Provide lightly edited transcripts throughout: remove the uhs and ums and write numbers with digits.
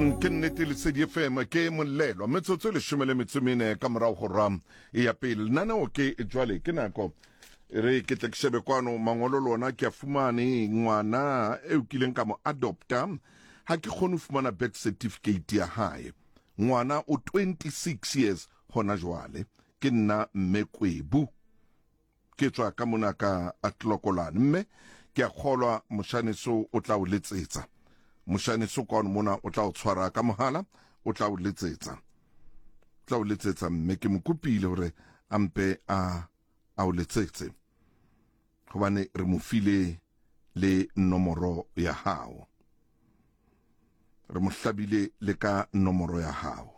Ke nnete Lesedi FM ke molelwa metsotso e leshome le metso mene ka morago go ra ya pele lenaneo ke jwale ke nako e re ke tle ke shebe kwano mangolo lona ke a fumane ngwana eo kileng ka mo adopta ha ke kgone ho fumana birth certificate ya hae ngwana o 26 years hona jwale ke nna mme kwebu Ke tswa ka mona ka Tlokolane, mme ke a kgolwa moshaneso o tla o letsetsa. Moshaneso kwano mona o tla o tshwara ka mohala, o tla o letsetsa. O tla o letsetsa, mme ke mo kopile hore a mpe a a o letsetse. Hobane re mo file le nomoro ya hao. Re mo hlabile le ka nomoro ya hao.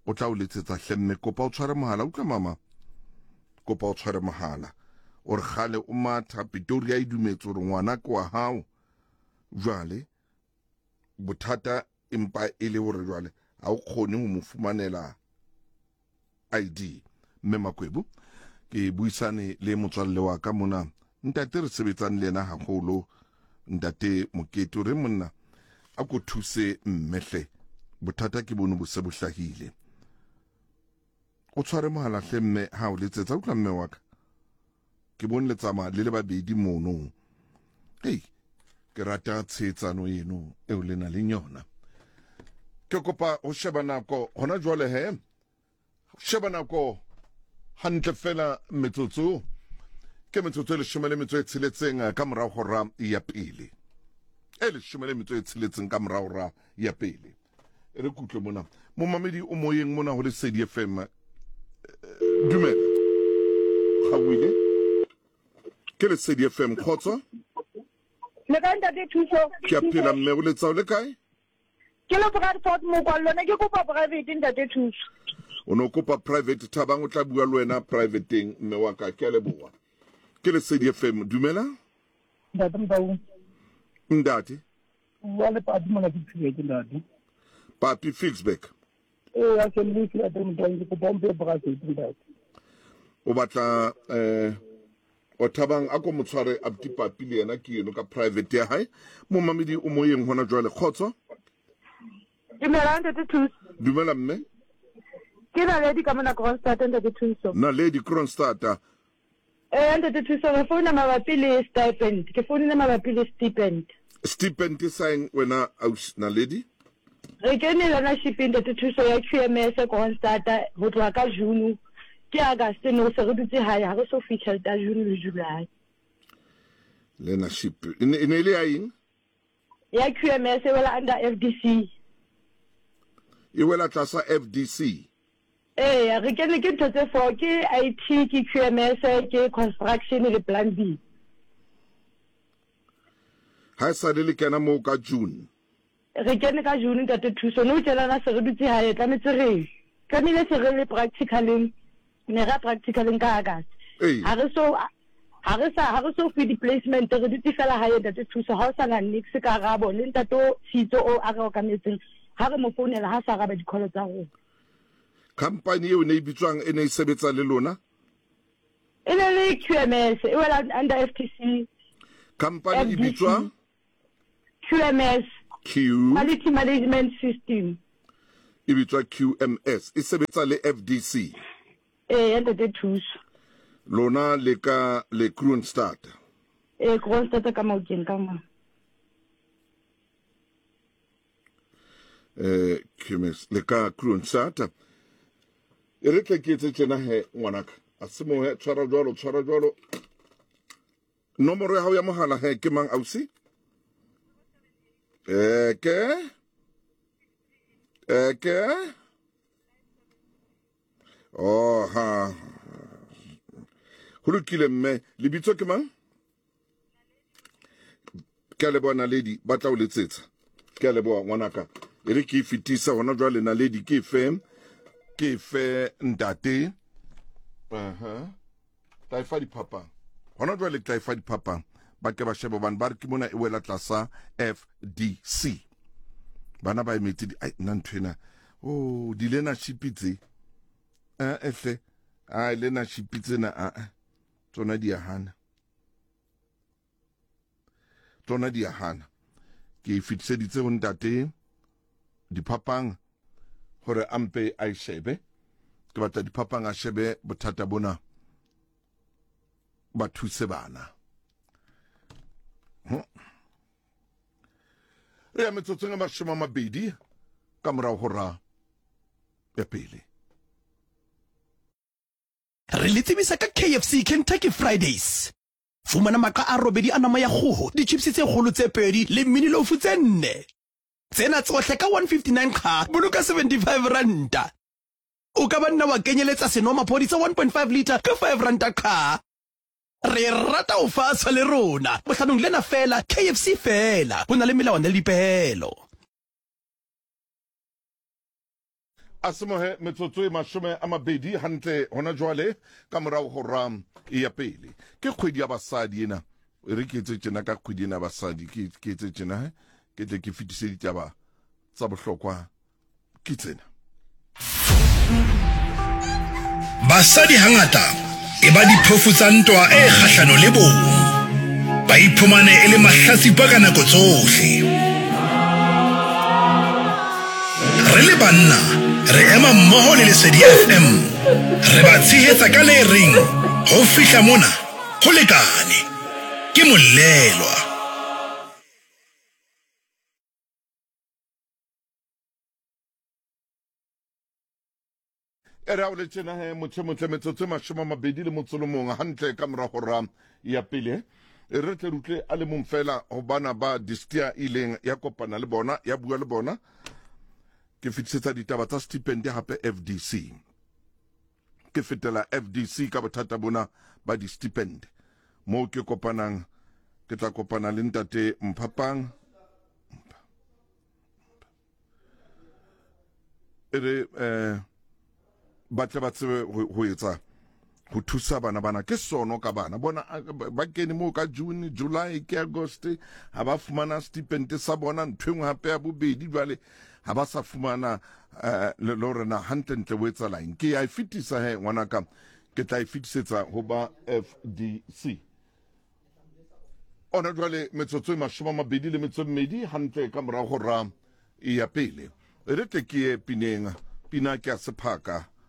O tla o letsetsa hle mme kopa o tshware mohala. Utlwa mama, kopa o tshware mohala. O re kgale o matha Pretoria e dumetse hore ngwana ke wa hao. Jwale bothata empa e le hore jwale ha o kgone ho mo fumanela ID. Mme Makwebu, ke buisane le motswalle wa ka mona, ntate re sebetsang le yena haholo, ntate Mokete, o re monna a ko thuse mme hle, bothata ke bono bo se bo hlahile. O tshware mohala hle mme ha o letsetsa, utlwa mme wa ka. Ke bone le tsamaya le le babedi mono. Hei, ke rata tshehetsano eno eo le na leng yona. Ke kopa ho sheba nako hona jwale he. Sheba nako hantle fela metsotso ke metsotso e leshome le metso e tsheletseng ka morao hora ya pele. E leshome le metso e tsheletseng ka morao hora ya pele. E re kutlwe mona momamedi o moyeng mona ho Lesedi FM. Eh, dumela gauile ke Lesedi FM kgotso. Le kae ntate Thuso? Ke a phela mme o letsao le kae? Ke le Bradford mokwallo ne ke kopa private ntate Thuso. O ne o kopa private Thabang o tla bua le wena privateng mme wa ka ke a leboha. Ke Lesedi FM dumela. Ntate Motau. Ntate. Bua le Papi mona ke Ficksburg ntate. Papi Ficksburg. Ee, a se le ntate Motau ke kopa o mpe private ntate. O batla eh o Thabang a ko motshware abuti Papi le yena ke eno ka private ya hae. Momamedi o moyeng hona jwale kgotso. Dumela ntate Thuso. Dumela mme. Ke Naledi ka mona Kroonstad ntate Thuso. Naledi Kroonstad. Ee ntate Thuso re founa mabapi le stipend. Ke founile mabapi le stipend. Stipend sa eng wena ausi Naledi? Re kene learnership ntate Thuso ya QMS Kroonstad ho tloha ka June ke August no se re dutse hae ha re so fiwe tjhelete ya June le July. Learnership e ne e le ya eng? Ya QMS e wela under FDC. E wela tlasa FDC. Eya, re kene ke ntho tse four, ke IT, ke QMS, ke construction le plumbing. Ha e sale le kena moo ka June. Re kene ka June ntate Thuso, nou tjenana se re dutse hae, tlametse re tlamehile se re le practicaleng, ne ra practicaleng ka August. Ha re so ha re sa ha re so fiwe di-placement, re dutse fela hae ntate Thuso, ha o sa na nix karabo le ntate o Tshitso o a re okametseng, ha re mo founela ha sa araba di-call tsa rona. Company eo ne e bitswang e ne e sebetsa le lona? E ne le QMS, e wela under FTC. Company e bitswa? QMS. Q Quality Management System. E bitswa QMS, e sebetsa le FDC. Ee, ntate Thuso. Lona le ka le Kroonstad. Ee, Kroonstad ka Maokeng ka mo. Eh, QMS le ka Kroonstad. E re tle ke etse tjena he ngwanaka. A se mo he tshwara jwalo, tshwara jwalo. Nomoro ya hao ya mohala he ke mang ausi? Eke. Eke. Oh ha. Ho lokile mme, lebitso ke mang? Ke a leboha Naledi, ba tla o letsetsa. Ke a leboha ngwanaka. E re ke e fetisa hona jwale Naledi ke fe ke fe ntate. Aha. Tla e fa diphapang. Hona jwale ke tla e fa diphapang. Ba ke ba shebe hobane ba re ke mona e wela tlasa FDC. Bana ba emetse di ai nna ntho ena. Oh, di learnership tse. Eh ehle. Ai learnership tsena a tsona di a hana. Tsona di a hana. Ke e fetiseditse ho ntate. Diphapang hore a mpe a e shebe. Ke batla Diphapang a shebe bothata bona, ba thuse bana. Re ya metsotsong a 20 ka morago go ra ya pele. Re le tsebisa ka KFC Kentucky Fridays. Fumana maqa a robedi a nama ya kgoho, ditjhipsi tse kgolo tse pedi le mini-loaf tse nne. Tsena tsohle ka 159 qha, boloka 75 ranta. O ka ba nna wa kenyeletsa senomaphodi sa 1.5 litre ka 5 ranta qha. Re rata ho faswa le rona. Bohlanong lena feela, KFC feela. Ho na le melawana le dipehelo. A semohe metsotso e 20 hantle hona jwale ka morao ho ra ya pele. Ke kgwedi ya basadi ena. E re ke etse tjena ka kgwedi ena basadi, ke ke etse tjena he, ke tle ke fetise ditaba tsa bohlokwa ke tsena. Basadi hangata e ba diphofu tsa ntwa e kgahlano le bong. Ba iphumane e le mahlatsipa ka nako tsohle. Re le banna re ema mmoho le Lesedi FM. Re ba tshehetsa ka le reng ho fihla mona ho lekane. Ke Molelwa. E re a o le tjena he motho motle metsotso e 21 hantle ka mora hora ya pele. E re tle re utlwe a le mong fela ho bana ba Distia ileng ya kopana le bona, ya bua le bona. Ke fetisetsa ditaba tsa stipend hape FDC. Ke fetela FDC ka bothata bona ba di-stipend. Moo ke kopanang, ke tla kopana le ntate Mphapang. E re eh ba tle ba tsebe ho etsa ho thusa bana bana ke sono ka bana bona ba kene moo ka June, July ke August ha ba fumana stipend sa bona ntho engwe hape ya bobedi jwale ha ba sa fumana eh, le hore na hantlentle o etsa laeng. Ke ya e fetisa he ngwanaka, ke tla e fetisetsa ho ba FDC ona jwale metsotso e 22 hantle ka morago ra ya pele. E re tle ke ye pineng, pina ke ya sephaka.